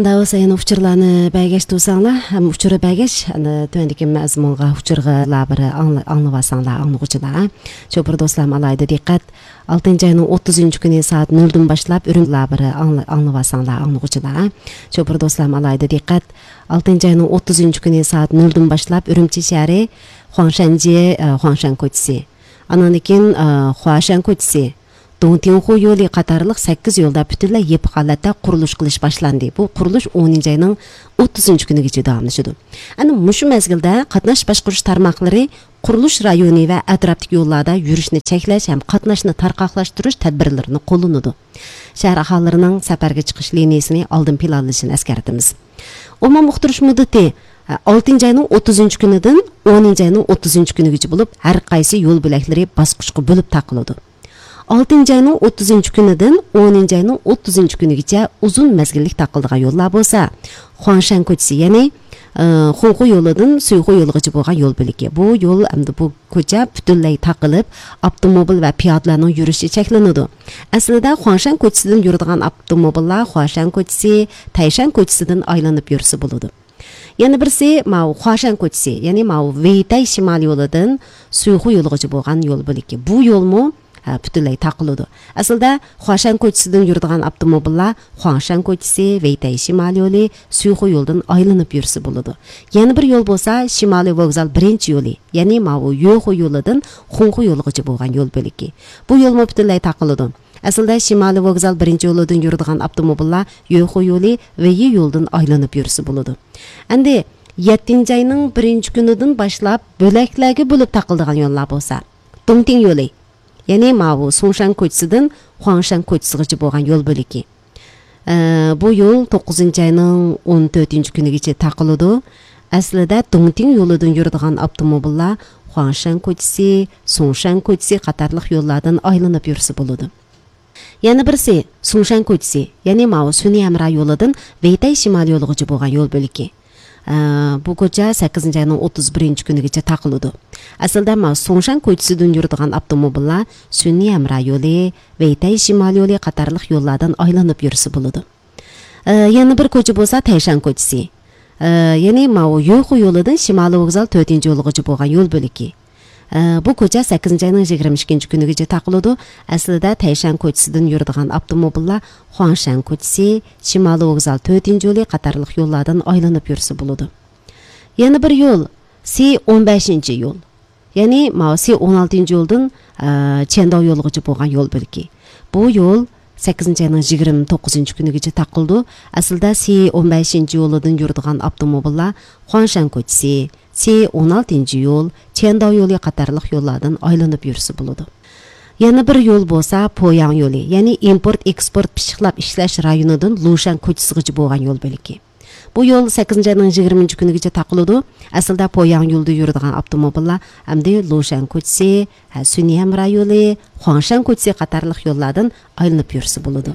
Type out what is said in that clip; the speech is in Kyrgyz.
Мында болсо эми учурларны байгеш туусаңлар, учуру байгеш, аны төмөндүкү мазмунга учурга бир аңлап алсаңлар, аңлыгучулар. Чопур досторум, алайда диккат. 6-айнын 30-күнү саат 0-дан башлап үрүмлөр бир аңлап алсаңлар, аңлыгучулар. Чопур досторум, алайда диккат. 6-айнын 30-күнү саат 0-дан башлап Үрүмчи шаары Хуаңшанжи, Хуаңшан көчүсү. Анан кийин Хуашан көчүсү, Доңтинху жолу катарлык 8 жолда бүтүнлөй эпи калатта курулуш кылыш башланды. Бул курулуш 10-айнын 30-күнүгө давамлашты. Аны мушу мезгилде катнаш башкарууш тармаклары курулуш району ва атраптык жолларда жүрүшүнү чеклеш һәм катнашны таркаклаштырыш тадбирлерин коллонуду. Шаар ахаларынын сапарга чыгыш линиясын алдын планлашын эскертебиз. Умум уктуруш муддаты 6-айнын 30-күнүдөн 10-айнын 30-күнүгө болуп, ар кайсы жол белектери баскычка бөлүп такылды. 6-айнын 30-күнүдөн 10-айнын 30-күнүгө узун мезгилдик такылдыган жоллар болсо, Хуаңшан көчүсү, яны Хунху жолунун Суйху жолуга болгон жол белги. Бул жол эмди бул көчө бүтүнлөй такылып, автомобиль ва пиядалардын жүрүшү чекленди. Аслында Хуаңшан көчүсүдөн жүрүдүган автомобиллар Хуашан көчүсү, Тайшан көчүсүдөн айланып жүрүсү болду. Яны бирси Хуашан көчүсү, яны Вейтай шимал жолунун Суйху жолуга болгон жол белги. Бул жолму бүтүнлөй такылды. Асылда Хуашан көчүсүдөн жүрүдүган автомобиллар Хуаңшан көчүсү, Вейтай шимал жолу, Суйху жолдон айланып жүрүсү болду. Яны бир жол болсо Шималый вокзал биринчи жолу, яны Юху жолунун Хунху жолуга болгон жол белги. Бул жолму бүтүнлөй такылды. Асылда Шималый вокзал биринчи жолдон жүрүдүган автомобиллар Юху жолу, Вейи жолдон айланып жүрүсү болду. Энди 7-айнын 1-күнүдөн башлап бөлөклөргө бөлүп такылдыган жоллар болсо, Доңтин жолу, яны Суншан көчүсүдөн Хуаңшан көчүсүгө болгон жол белги. Бул жол 9-айнын 14-күнүгө такылды. Аслында Доңтин жолунан жүрүдүган автомобиллар Хуаңшан көчүсү, Суншан көчүсү катарлык жоллардан айланып жүрүсү болду. Яны бирси Суншан көчүсү, яны Сүньямра жолунан Вейтай шимал жолуга болгон жол белги. Бул көчө 8-айнын 31-күнүгө такылды. Асылда Суншан көчүсүдөн жүрүдүган автомобиллар Сүньямра жолу, Вейтай шимал жолу катарлык жоллардан айланып жүрүсү болду. Яны бир көчө болсо Тайшан көчүсү. Яны Юху жолунун Шималый вокзал 4-жолуга болгон жол белги. Бул көчө 8-айнын 22-күнүгө такылды. Аслында Тайшан көчүсүдөн жүрүдүган автомобиллар Хуаңшан көчүсү, Шималый вокзал 4-жолу катарлык жоллардан айланып жүрүсү болду. Яны бир жол Си-15 жол. Яны Си-16 жолдун Чендау жолуга болгон жол белги. Бул жол 8-айнын 29-күнүгө такылды. Асылда Си-15 жолунан жүрүдүган автомобиллар Хуаңшан көчүсү, Си-16 жол, Чендау жолу катарлык жоллардан айланып жүрүсү болду. Яны бир жол болсо Пояң жолу, яны импорт-экспорт пишиклап иштеш районунун Лушан көчүсүгө болгон жол белги. Бул жол 8-айнын 20-күнүгө такылды. Асылда Пояң жолду жүрүдүган автомобиллар эмди Лушан көчүсү, Сүньямра жолу, Хуаңшан көчүсү катарлык жоллардан айланып жүрүсү болду.